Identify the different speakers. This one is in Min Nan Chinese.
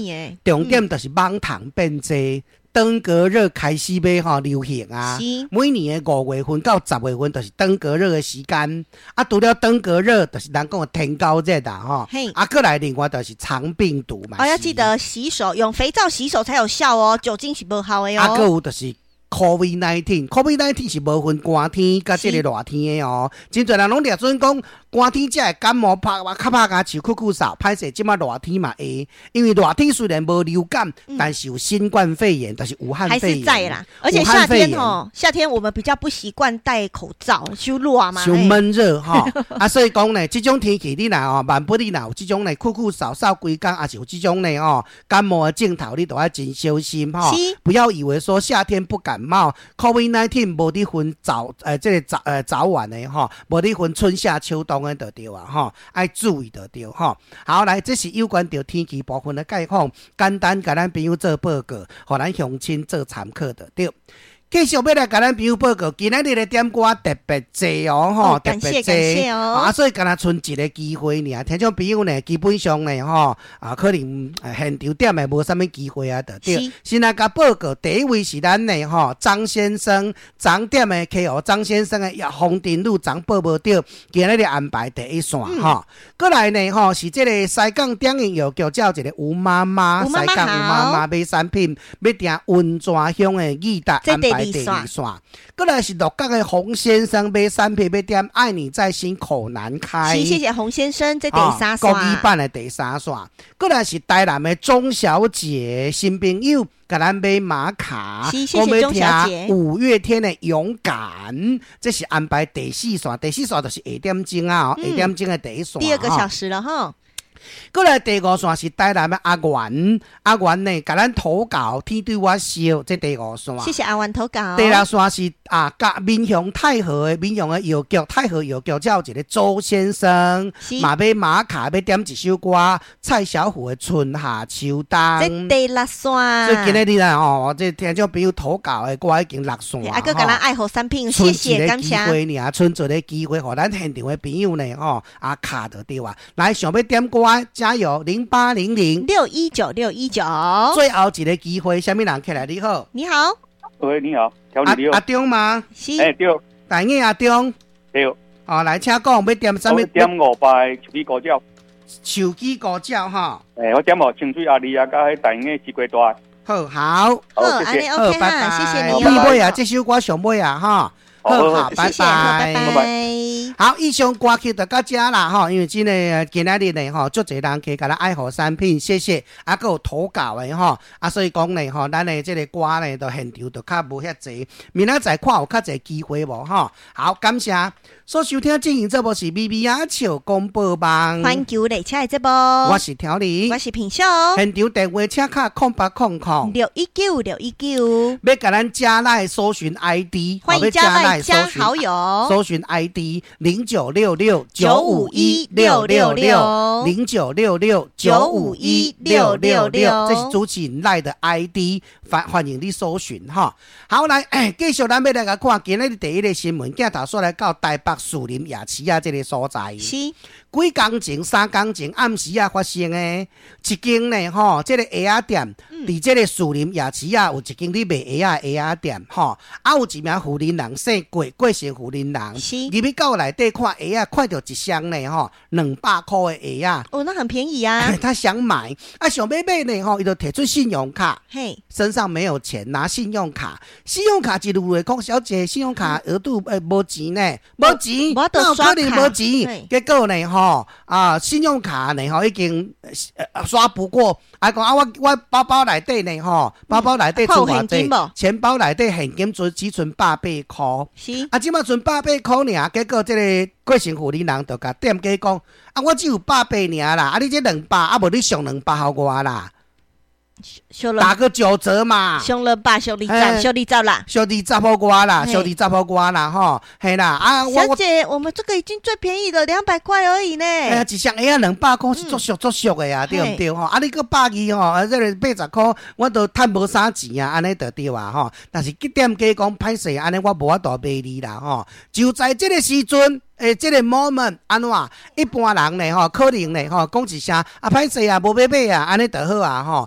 Speaker 1: 的？
Speaker 2: 重點就是蠓蟲變濟，登革熱開始欲吼流行啊。每年的5月份到10月份，就是登革熱的時間。啊，除了登革熱，就是人講的天狗熱啦吼。啊，閣來另外就是腸病毒嘛。
Speaker 1: 哦，要記得洗手，用肥皂洗手才有效哦，酒精是無效的
Speaker 2: 啊，
Speaker 1: 哦。
Speaker 2: 閣有就是 COVID-19，COVID-19 是無分寒天佮這个熱天的哦。真濟人攏掠準講寒天才會感冒，拍較拍跤手咳咳嗽，歹勢這馬熱天嘛會，因為熱天雖然無流感，但是有新冠肺炎，就是武漢
Speaker 1: 還
Speaker 2: 肺炎。
Speaker 1: 是在啦，而且夏天哦，夏天我們比較不習慣戴口罩，傷熱嘛。
Speaker 2: 傷悶熱吼，啊，所以講呢，這種天氣你若吼，萬不你若有這種呢，咳咳嗽嗽規工，抑是有這種呢吼感冒的症頭，你都愛真小心吼。不要以為說夏天不感冒，COVID-19 無佇分早這个早晚的吼，無佇分春夏秋冬的就對啊吼，愛注意就對吼。好，來，這是有關著天氣部分的概況，簡單共咱朋友做報告，予咱鄉親做參考就對。繼續欲來共咱朋友報告，今仔日的點歌特別濟哦，吼，特別濟
Speaker 1: 哦。
Speaker 2: 啊，所以敢若賰一个機會爾，聽眾朋友呢，基本上呢，吼，啊，可能現場點的無啥物機會啊，就對。先來共報告，第一位是咱的吼張先生，張點的客戶張先生的風田路昨報無著，今仔日安排第一線吼。閣來呢，吼，是這个西港點應藥局，才有一个吳媽媽，西港吳媽媽買產品，欲訂溫泉鄉的義達安排第二線，閣來是鹿角的洪先生買產品，欲點愛你在心口難開。
Speaker 1: 是，謝謝洪先生，這第三線。
Speaker 2: 國語版的第三線。閣來是台南的鍾小姐新朋友，共咱買馬卡，
Speaker 1: 是，謝謝鍾小姐。
Speaker 2: 五月天的勇敢，這是安排第四線，第四線就是下點鐘啊，下點鐘的第一線。
Speaker 1: 第二個小時了哈。
Speaker 2: 閣來第五線是台南的阿元，阿元呢，共咱投稿天對我笑，這第五線。
Speaker 1: 謝謝阿元投稿。
Speaker 2: 第六線是啊，佮民雄太和的民雄的藥局，太和藥局才有一個周先生，嘛買馬卡欲點一首歌，蔡小虎的春夏秋冬。
Speaker 1: 這第六線。
Speaker 2: 所以今仔日啦吼，這聽眾朋友投稿的歌已經六線。
Speaker 1: 啊，閣共咱愛護產品，謝謝感謝。
Speaker 2: 賰一個機會爾，賰一个機會，予咱現場的朋友呢吼，啊卡就對啊。來，想欲點歌，加油！0800
Speaker 1: 619619。
Speaker 2: 最後一個機會，啥物人起來？你好，
Speaker 1: 你好，
Speaker 3: 喂，你好，調你
Speaker 2: 阿中嗎？
Speaker 1: 是，
Speaker 3: 欸，對，
Speaker 2: 大英阿中，
Speaker 3: 對，
Speaker 2: 哦，來，請講，欲點啥物？
Speaker 3: 點五擺手機歌照，
Speaker 2: 手機歌照哈。
Speaker 3: 欸，我點予清水阿麗啊，佮彼大英的西瓜大。
Speaker 2: 好，好，
Speaker 3: 好，謝謝，
Speaker 2: 好，拜拜，
Speaker 1: 謝謝你。
Speaker 2: 你尾啊，這首歌上尾啊，哈。好，好，拜拜，
Speaker 1: 拜拜。
Speaker 2: 好，以上歌曲就到這啦吼，因為真的今仔日呢吼，足濟人客共咱愛護產品，謝謝，啊，閣有投稿的吼，啊，所以講呢吼，咱的這個歌呢，就現場就較無遐濟，明仔載看有較濟機會無吼。好，感謝所收聽進行節目是咪咪仔笑廣播網，
Speaker 1: 環球列車的節目，
Speaker 2: 我是調理，
Speaker 1: 我是品秀，
Speaker 2: 現場電話請敲0800
Speaker 1: 619619，
Speaker 2: 欲共咱加 LINE 搜尋 ID，
Speaker 1: 歡迎加 LINE 加好友，
Speaker 2: 搜尋 ID 09669516660966951666，這是主持人 LINE 的 ID，歡迎你搜尋哈。好，來，繼續咱欲來共看今仔日第一个新聞，鏡頭煞來到台北士林夜市仔這个所在。
Speaker 1: 是，
Speaker 2: 幾工前、3工前暗時仔發生的，一間呢吼，這个鞋仔店，佇這个士林夜市仔有一間咧賣鞋仔的鞋仔店吼，啊有一名婦人人姓郭，郭姓婦人人，入去到內底看鞋仔，看著一雙呢吼，200箍的鞋仔。
Speaker 1: 哦，那很便宜啊。
Speaker 2: 他想買，啊想欲買呢吼，伊就提出信用卡，身上沒有錢，拿信用卡，信用卡一路來講，小姐，信用卡額度無錢呢，無錢，哪有可能無錢？結果呢吼，啊信用卡呢吼已經刷不過，啊講啊我包包內底呢吼，包包內底存偌濟，錢包內底現金只存百八箍，
Speaker 1: 是，
Speaker 2: 啊這馬存百八箍爾，結果這个郭姓婦人人就共店家講，啊我只有百八爾啦，啊你這兩百，啊無你上兩百予我啦。打個9折嘛。
Speaker 1: 俗200，俗20，俗20啦。
Speaker 2: 俗20予我啦，俗20予我啦，吼，嘿啦，啊，
Speaker 1: 小姐，我們這個已經最便宜了，200塊而已呢。
Speaker 2: 哎呀，一雙鞋仔200塊是足俗足俗的啊，對毋對吼？啊，你閣120吼，啊，這个80塊，我都趁無啥錢啊，按呢就對啊，吼。但是店家講歹勢，按呢我無法度賣你啦，吼。就在這個時陣，欸，這個 moment 按怎？一般人呢，吼，可能呢，吼，講一聲啊，歹勢啊，無欲買啊，按呢就好啊，吼。